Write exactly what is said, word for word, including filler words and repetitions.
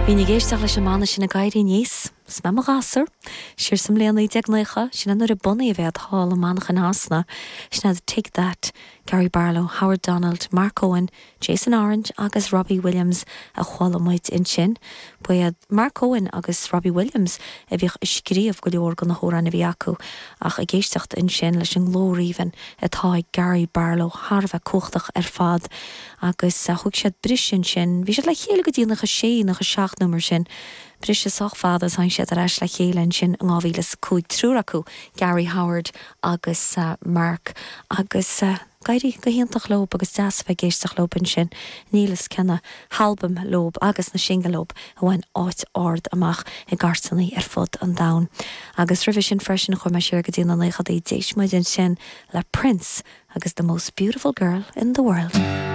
Bhínn ag éisteacht leis an mbanna sin ag éirí aníos, 's mé i mo ghasúr, siar sa mbliain naoi déag naocha, sin é nuair a bunaíodh iad thall i Manchain Shasana, sin iad Take That, Gary Barlow, Howard Donald, Mark Owen, Jason Orange agus Robbie Williams a chuala muid ansin. Ba iad Mark Owen agus Robbie Williams a bhíodh ag scríobh go leor de na hamhráin a bhí acu ach ag éisteacht ansin leis an nglór aoibhinn atá ag Gary Barlow thar a bheith cumhachtach ar fad agus thug siad briseadh ansin, bhí siad le chéile go dtí nócha sé nócha seacht nó mar sin. Briseadh sách fada tháinig siad ar ais le chéile ansin in dhá mhíle is a cúig triúr acu Gary Howard agus uh, Mark agus uh, d'éirigh go hiontach leo agus deas bheith ag éisteacht leo ansin níl is cé na halbaim leo agus na singil leo a bhain áit ard amach i gcairteanna ar fud an domhain. Agus roimhe sin freisin chuaigh mé siar go dtí na naochadaí d'éist muid ansin le Prince agus the most beautiful girl in the world.